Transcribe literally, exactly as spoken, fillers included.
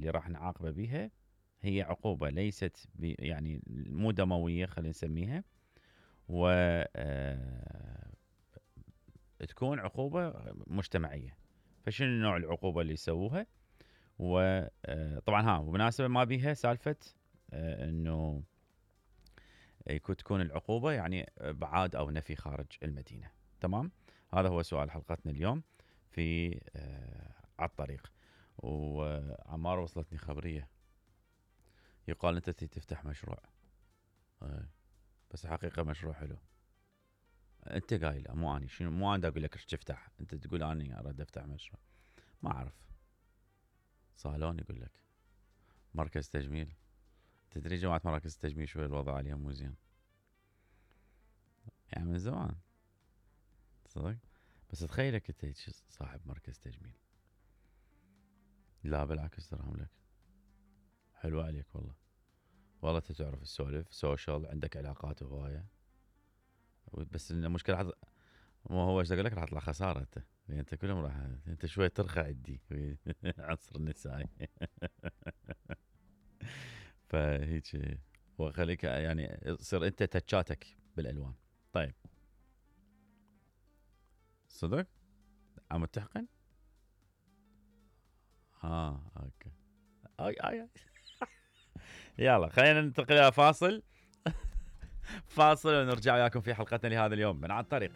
اللي راح نعاقبه بيها هي عقوبة ليست يعني مو دموية خلينا نسميها، و آه تكون عقوبة مجتمعية. فشنو نوع العقوبة اللي يسووها؟ وطبعا ها وبمناسبة ما بيها سالفة انه يكون تكون العقوبة يعني ابعاد او نفي خارج المدينة. تمام، هذا هو سؤال حلقتنا اليوم في على الطريق. وعمار وصلتني خبرية يقال انت تفتح مشروع، بس الحقيقة مشروع حلو. انت قايله مو اني، شنو مو انا اقول لك ايش تفتح، انت تقول اني اريد افتح مشروع. ما اعرف، صالون يقول لك مركز تجميل. تدري جماعة مراكز التجميل شوي الوضع عليهم مو زين يعني من زمان صدق. بس تخيلك انت صاحب مركز تجميل. لا بالعكس ترى لك حلو عليك والله. والله انت تعرف السولف سوشيال، عندك علاقات هوايه. بس المشكله حض... مو هو ايش اقول لك، راح تطلع خساره انت، انت كلهم راح انت شوي ترخى عندي عنصر النسائي. فهيك وخليك يعني صير انت تتشاتك بالالوان. طيب صدق عم تحقن؟ اه اوكي. اي اي يلا خلينا ننتقل الى فاصل. فاصل ونرجع وياكم في حلقتنا لهذا اليوم من على الطريق.